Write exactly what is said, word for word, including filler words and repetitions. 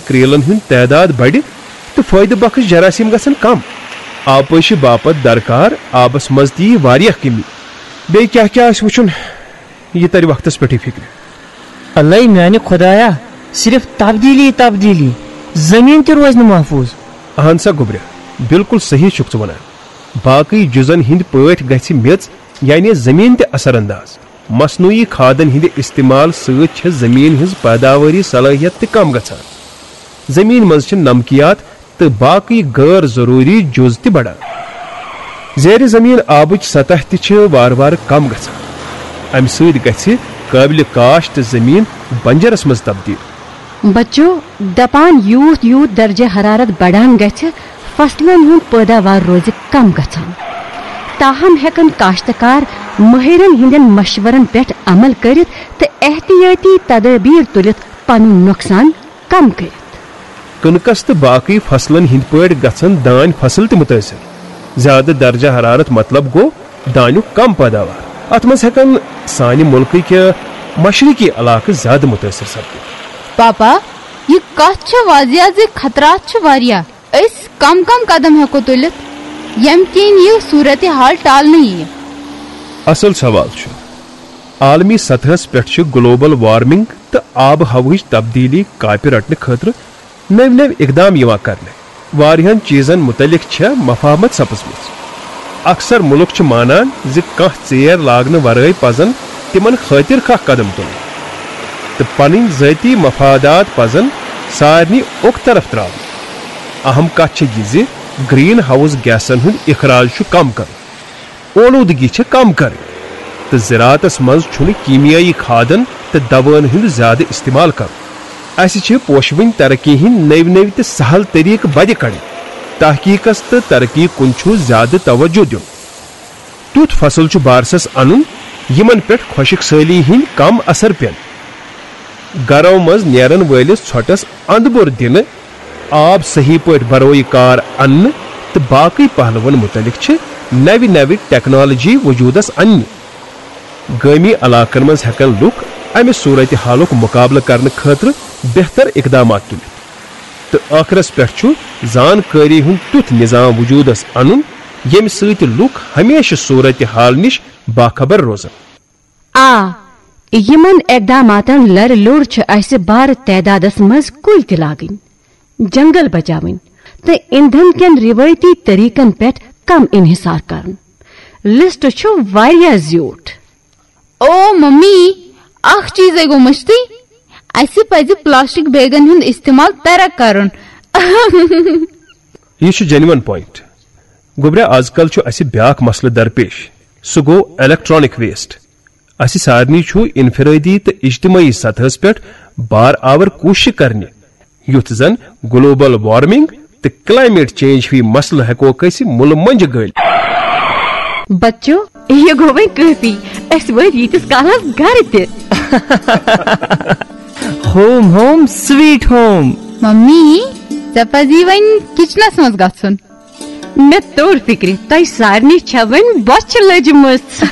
کریلن ہُنٛد تعداد بڑِ تہٕ فٲیدٕ بخش جراثیم گژھن کم۔ آبپٲشی باپتھ درکار آبس منٛز تہِ یی واریاہ کمی۔ بیٚیہِ کیٛاہ کیٛاہ آسہِ وٕچھُن، یہِ ترِ وقتس پٮ۪ٹھٕے فکرِ۔ اللہ میانہِ خدایا، صرف تبدیلی، تبدیلی، زمین تہِ روزِ نہٕ محفوظ۔ اہن سا گوٚبریا، بالکل صحیح چھُکھ ژٕ ونان۔ باقٕے جُزن ہٕنٛدۍ پٲٹھۍ گژھِ میٚژ، یعنی زمین تہِ اثر انداز۔ مصنوعی کھادن ہٕنٛدِ استعمال سۭتۍ چھےٚ زمین ہٕنٛز پیداواری صلٲحیت تہِ کم گژھان۔ زمین منٛز چھِ نمکیات تہٕ باقٕے غٲر ضروٗری جُز تہِ بڑان۔ زیر زمین آبٕچ سطح تہِ چھِ وارٕ وارٕ کم گژھان۔ امہِ سۭتۍ گژھِ قٲبلِ کاشت زمین بنجرس منٛز تبدیل۔ بچو، دپان یوٗت یوٗت درجہ حرارت بڑان گژھِ، فصلن ہُنٛد پٲداوار روزِ کم گژھان۔ تاہم ہیکن کاشتکار مٲہرن ہٕنٛدٮ۪ن مشورن پٮ۪ٹھ عمل کٔرتھ تہٕ احتیاطی تدابیر تُلِتھ پنُن نۄقصان کم کٔرِتھ۔ کٕنکس تہٕ باقٕے فصلن ہٕنٛدۍ پٲٹھۍ گژھن دانۍ فصل تہِ مُتٲثر۔ زیادٕ درجہ حرارت مطلب گوٚو دانیُک کم پیداوار۔ اتھ منٛز ہیکن سانہِ مُلکٕکۍ مشرقی علاقہٕ زیادٕ مُتٲثر سپدِتھ۔ پاپا، یہ کتھ چھےٚ واضح زِ خطرات چھِ واریاہ۔ أسۍ کم کم قدم ہیکو تُلِتھ ییٚمہِ کِنۍ یہِ صورتحال ٹالنہٕ یِیہِ؟ اصل سوال چھُ۔ عالمی سطحس پٮ۪ٹھ چھِ گلوبل وارمنگ تہٕ آب و ہوہٕچ تبدیلی کاپہِ رٹنہٕ خٲطرٕ نٔوۍ نٔوۍ اقدام یِوان کرنہٕ۔ واریاہن چیزن متعلق چھےٚ مفاہمت سپٕزمٕژ۔ اکثر مُلک چھِ مانان زِ کانٛہہ ژیر لاگنہٕ ورٲے پزن تِمن خٲطرٕ کانٛہہ قدم تُلٕنۍ تہٕ پنٕنۍ ذٲتی مفادات پزن سارنٕے اوٚک طرف تراوٕنۍ۔ اہم کتھ چھےٚ یہِ زِ گرین ہاؤس گیسن ہُنٛد اخراج چھُ کم کرُن، اولودگی چھِ کم کرٕنۍ، تہٕ زراعتس منٛز چھُنہٕ کیمیٲیی کھادن تہٕ دوائن ہُنٛد زیادٕ استعمال کرُن۔ اسہِ چھِ پوشوٕنۍ ترقی ہٕنٛدۍ نٔوۍ نٔوۍ تہٕ سہل طریقہٕ بدِ کڑٕنۍ۔ تحقیقس تہٕ ترقی کُن چھُ زیادٕ توجہ دیُن۔ تیُتھ فصل چھُ بارسس انُن، یِمن پٮ۪ٹھ خۄشک سٲلی ہٕنٛدۍ کم اثر پٮ۪ن۔ گرو منٛز نیرن وٲلِس ژھۄٹس اندٕ بوٚر دِنہٕ، آب صحیح پٲٹھۍ برویہِ کار اننہٕ تہٕ باقٕے پہلوَن مُتعلِق چھِ نَوِ نَوِ ٹیکنالوجی وجوٗدَس اننہِ۔ گٲمی علاقن منٛز ہٮ۪کن لُکھ امہِ صورتِ حالُک مُقابلہٕ کرنہٕ خٲطرٕ بہتر اقدامات تُلِتھ۔ تہٕ ٲخرس پٮ۪ٹھ چھُ زانکٲری ہُنٛد تیُتھ نظام وجوٗدَس انُن، ییٚمہِ سۭتۍ لُکھ ہمیشہٕ صورتِ حال نِش باخبر روزن۔ آ، یِمن اقداماتن لرِ لوٚر چھِ اسہِ بارٕ تعدادس منٛز کُلۍ تہِ لاگٕنۍ، جنگل بچاوٕنۍ تہٕ ایندھن کٮ۪ن روایتی طریقن پٮ۪ٹھ کم انحصار کرُن۔ لسٹ چھُ واریاہ زیوٗٹھ۔ او ممی، اکھ چیزے گوٚو مٔشتٕے، اسہِ پزِ پلاسٹک بیگن ہُنٛد استعمال ترک کرُن۔ یہِ چھُ جینون پوینٹ۔ گوٚبریا، از کل چھُ اسہِ بیاکھ مسلہٕ درپیش، سُہ گوٚو الیکٹرانک ویسٹ۔ اسہِ سارنٕے چھُ انفرٲدی تہٕ اجتمٲعی سطحس پٮ۪ٹھ بار آور کوٗشش کرنہِ، یُتھ زن گلوبل وارمنگ تہٕ کلائمیٹ چینج ہِوۍ مسلہٕ ہٮ۪کوکھ أسۍ مُلہٕ مۄنجہِ گٲلِتھ۔ بچو، یہِ گوٚو وۄنۍ کٲفی۔ أسۍ وٲتۍ ییٖتِس کالس گرٕ تہِ۔ Home home sweet home. Mummy, ژےٚ پزی وۄنۍ کچنس منٛز گژھُن۔ مےٚ توٚر فکرِ، تۄہہِ سارنٕے چھےٚ وۄنۍ بۄچھِ لٔجمٕژ۔